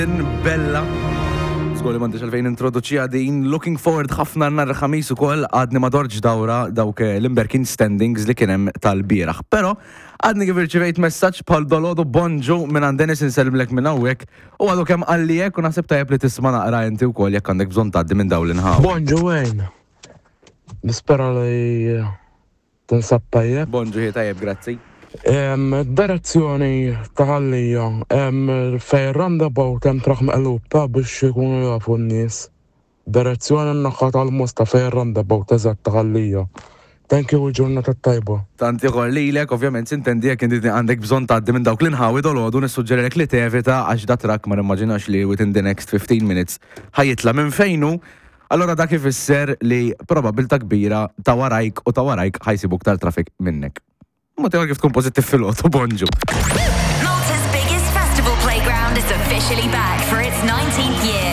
Bella. Żgur li m'għandix għalfejn introduċiha din. Looking forward ħafna nhar il-Ħamis ukoll għadni ma dortx dawra dawk l-imberkin standings li kien hemm tal-bieraħ. Però għadni kif irċivejt messaġġ bħal dolodu bonġu minn għand Dennis insellmlek minn hawnhekk u għadu kemm qalli hekk u naħseb tajjeb li tisma' naqra inti wkoll jekk għandek bżonn tgħaddi minn dawn l-inħawi. Bonġu Wayne. Nispera li Tinsab tajjeb? Bonġu, hi tajjeb, grazzi. Direzzjoni ta' Ħal Lija, fejn roundabout hemm trakk meqlub ta' biex ikunu jafu n-nies. Direzzjoni n-naħa tal-Mosta fejn roundabout eżatt ta' Ħal Lija. Thank you u l-ġurnata t-tajba. Tant ieħor lilek, ovvjament sintendi jekk inti għandek bżonn tgħaddi minn dawk l-inħawi dolodu nissuġġerilek li tevita għax da trakk ma nimmaġinax li within the next 15 minutes ħa jitla' minn fejn hu. Allura dak ifisser li probabbiltà kbira ta' warajk u ta' warajk ħa jsibu iktar traffic minnek. Mod ieħor kif tkun pożittiv filgħodu, bonġu. Malta's biggest festival playground is officially back for its 19th year.